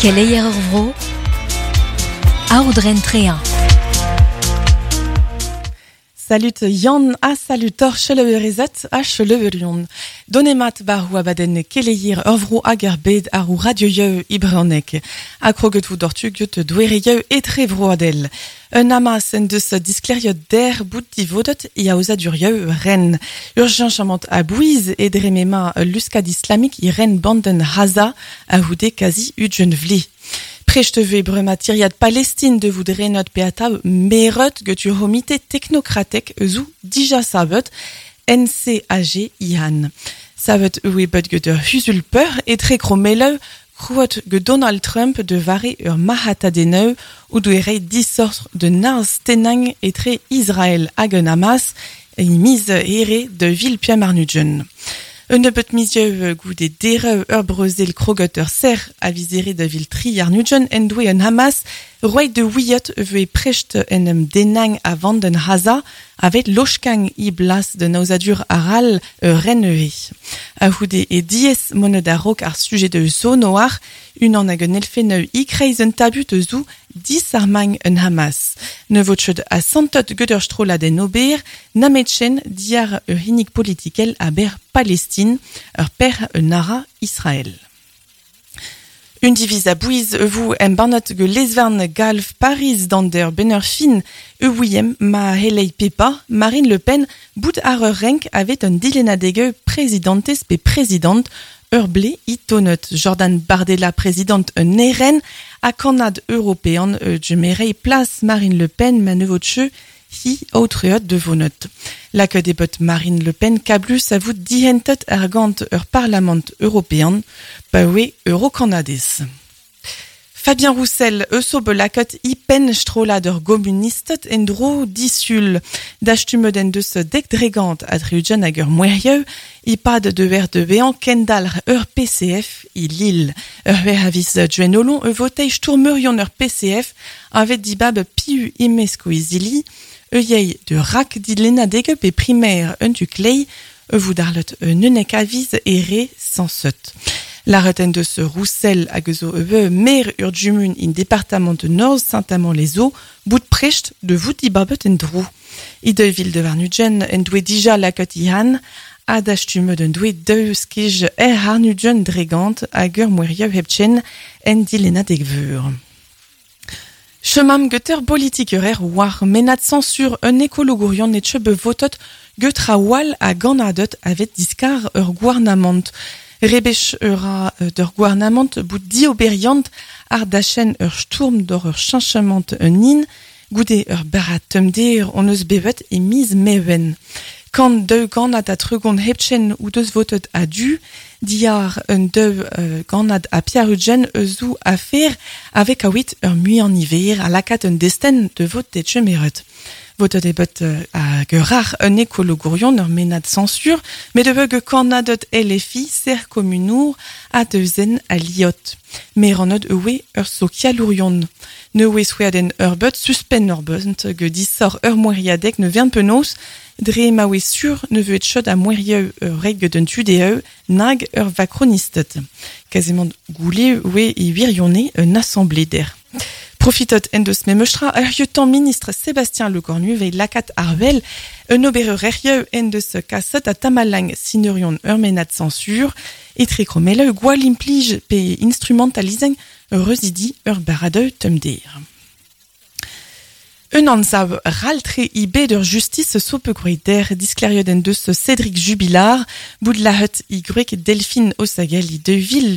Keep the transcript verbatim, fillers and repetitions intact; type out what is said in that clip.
Keleier ur vro, aoudren trean. Salut Yann ha salut tor cheleuerezet ha cheleuerion. Donemat bar abadenn keleier ur vro hag ar bed ar ou radioieu ibreonek. A kroget vou dortu get douereieu etre vroadel. Un amas en deus diskleriot der bout divodet i aozadurieu ren. Urgent a bouiz e dremema luskad islamik i ren banden Haza a houde kazi udjen vle. Prechteve brema tiriad Palestine de vout renot peata merot get ur homite technokratek eus dija savet N C A G ihan. Savet oe bet get ur husulpeur e tre kromeleu krouot get Donald Trump de vare ur mahatadeneu ou douere disordre de naz tenang etre Israël hag un Hamas e miz here de vil Piamarnudjen. Un nebeut mizieu goude dereu ur brezel krogot ur ser a vizere da vil tri arnudjen en doe un Hamas roet de ouiot vue precht en um denang a vanden Haza avet lochkang i blas de nauzadur aral ur renneue. A houde e diez monet a rok ar sujet de zo noar unan hag un elfeneu i kreiz un tabut zou disarmang un Hamas. Ne votched a santot get ur strollad en ober, nametchen diar ur hinik politikel a ber Palestine, ur per un ara Israël. Un diviz a bouiz vous em banot ge lesvern galv Paris dander benner fin e ouiem ma helei pepa Marine Le Pen bout ar ur renk avet un dilenadege présidentes pe présidente ur ble i tonot. Jordan Bardella présidente un eren a kannad européen e djemerei place Marine Le Pen ma nevotche hi aotreot de vonot. La que debot Marine Le Pen kablus a vout dihentet argant ur parlament européen paoe eurokanadez. Fabien Roussel eus o belakot i pen strollad ur gomunistet en dro disul. Dastumet en deus dek dregant a triujen hag ur mouerieu i pad de ver de vean kendal ur P C F i Lille. Ur ver avis djuenolon e votei stourmeurion ur P C F avet dibab piu imesko izili e yei de rak dilena degep e primaire un tu klei e voudarlet un unek aviz ere sans seut. La reten de ce Roussel hag zo e mer ur djumun in département de Nord Saint-Amand-les-Eaux, bout precht de vout dibabet en drou. I de ville de Varnudjen en doue dija lakot ihan, a dastume den doue deux skij er harnudjen dregant hag ur mouerieu hepchen en dilena degveur. Chemam geter politikerer war menat censure un écologourion netche bevotot getra wal a ganadot avet diskar ur gouarnamant. Rebech ura d'ur gouarnamant bout dioberiant ar dachen ur sturm d'or ur chanchement un in, goude ur barat tumder on eus bevet e miz mewen. Kant deux ganad a tregon hepchen ou deus votet a du, diar un deux euh, ganad a piarudjen eus ou affaire avec a wit ur mui en hiver a lakat un desten de vot de chemeret. Votet e bet a gerar un écologourion ur menad censure, met de veug kannadot L F I ser communour a deuzen a liot. Meranod ewe ur sokialourion. Ne oe souaden ur bet suspen ur bent ge disor ur moeriadek ne vern penaos, dre ma oe sur ne veut chot a moerieu ur reg d'un tudeu nag ur vakronistet. Quasiment goulé oe i wirionne un assemblée der. Profitot en deus memestra ur lieutenant ministre Sébastien Lecornu vei lakat arvel un obereur errieu en deus kasset a tamalang sinerion ur menad censure e trekromele gwall implij pe instrumentalizeng reuzidi ur baradeu tumder. Un anzav raltre i bed ur justice sope groet der diskleriot en deus Cédric Jubilard, bout la hut i grek Delphine Osagel i de ville